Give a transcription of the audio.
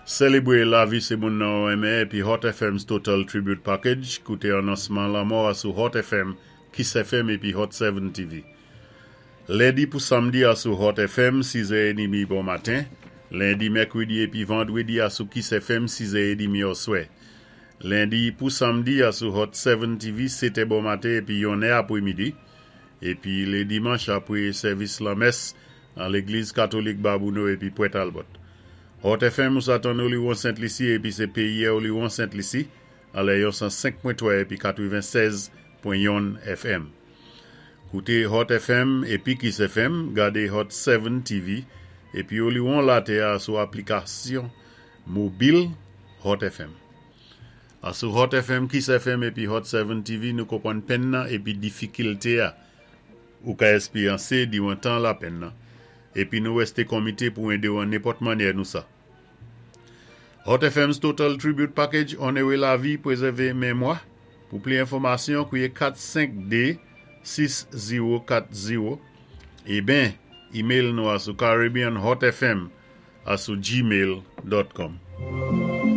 Sélébwé lavi sé moun nan ou renmen épi Hot FM's Total Tribute Package. Kouté anonsman lanmò a sou Hot FM, Kiss FM épi Hot 7 TV. Lendi pou samdi a sou Hot FM, 6 è édmi bon maten. Lendi, mèkwédi épi vandwédi a sou Kiss FM, 6 è édmi oswè. Lendi pou samdi a sou Hot 7 TV, 7 è bon maten épi 1 è apwémidi. Épi lé dimanch apwé sèvis lanmès an légliz katolik Babouno épi Pwent Albert. Hot FM ou sa tann Oliwon Sent Lisi épi sé péyi Oliwon Sent Lisi an lè yon 105.3 épi 96.1 FM. Kouté Hot FM épi Kiss FM, gadé Hot 7 TV épi Oliwon latè a sou aplikasyon mobil Hot FM. A sou Hot FM, Kiss FM épi Hot 7 TV nou konpwann penn nan épi difikilté a ou ka èspéryansé diwan tan lapenn nan. Épi nou wèsté konmité pou édé-w an nenpòt mannyè nou sa. Hot FM's Total Tribute Package Onoré lavi, pwézèvé mémwa. Pou pli enfòmasyon, kwiyé 452 6040 é ben, email nou a sou caribbeanhotfm a sou gmail.com.